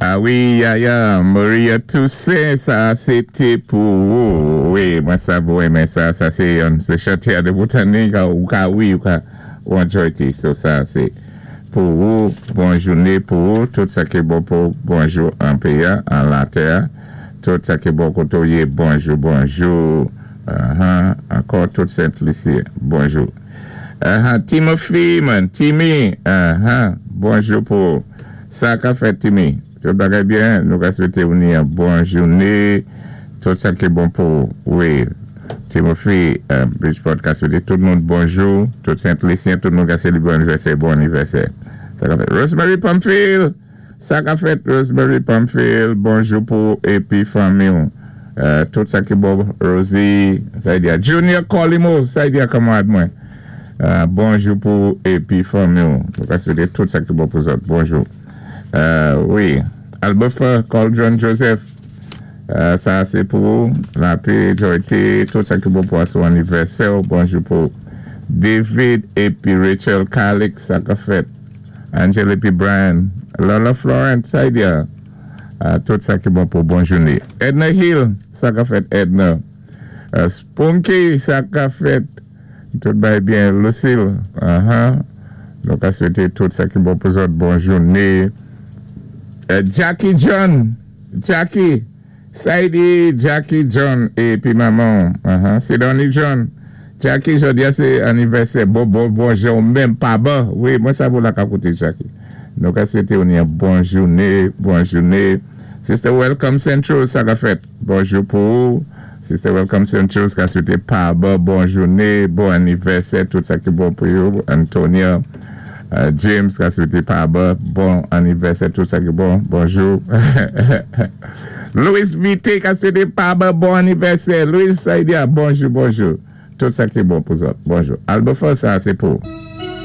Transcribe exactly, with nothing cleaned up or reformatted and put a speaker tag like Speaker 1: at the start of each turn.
Speaker 1: Ah wi, ya, ya, Maria Toussaint, sa sé té pou ou. Wi, mwen sav ou enmen sa, sa sé yon, sé chanté a de boutani, ou ka wi, ou ka ou enjoy ti. So sa sé pou ou, bon jouné pou ou, tout sa ki bon pou bonjou an péyi, an latè, tout sa ki bon koté ou yé, bonjou, bonjou. Uh-huh. Ankò tout Sent Lisi, bonjou. Uh-huh. Timothy, man, Timmy, uh-huh. Bonjou pou sa ka fèt, Timmy. Tout bagay byen, nou ka swété ou ni yon bon jouné, tout sa ki bon pou, wi, Timothy, uh, Bridgeport ka swété tout moun bonjou, tout Sent Lisyen, tout moun ka sélébwé anivèsè, bon anivèsè. Sa ka fèt. Rosemary Pamphile, sa ka fèt, Rosemary Pamphile, bonjou pou épi fanmi ou. Uh, tout sa ki bon, Rosie, sa y di a, Junior Colimo, sa y di a kanmarad mwen. Uh, bonjou pou épi fanmi ou. Nou ka swété tout sa ki bon pou zòt, bonjou. Uh, wi, Albertha Caldron Joseph, uh, sa sé pou ou, lapè, joyté, tout sa ki bon pou asou anivèsè, bonjou pou David épi Rachel Calix, sa ka fèt, Angel épi Brian, Lola Florent, sa y di a, uh, tout sa ki bon pou bon jouné. Edna Hill, sa ka fèt Edna. Uh, Spunky, sa ka fèt, tout bay byen, Lucille, uh-huh. Nou ka swété tout sa ki bon pou zòt, bon jouné. Uh, Jackie John, Jackie, Saidi, Jackie John, épi manman, uh-huh. Sidonie John, Jackie, jodi a sé anivèsè, bon, bon, bonjou, menm pa bon, wi, mwen sav ou la ka kouté Jackie. Nou ka swété ou ni yon bon jouné, bon jouné. Sister Welcome Central, sa ka fèt, bonjou pou ou. Sister Welcome Central, ka swété pa bon, bon jouné, bon anivèsè, tout sa ki bon pou yo. Antonia, uh, James, ka swété pa bon, bon anivèsè, tout sa ki bon, bonjou. Louis Vite, ka swété pa bon, bon anivèsè. Louis Saidia, bonjou, bonjou. Tout sa ki bon pou zòt, bonjou. Albertha, sa sé pou.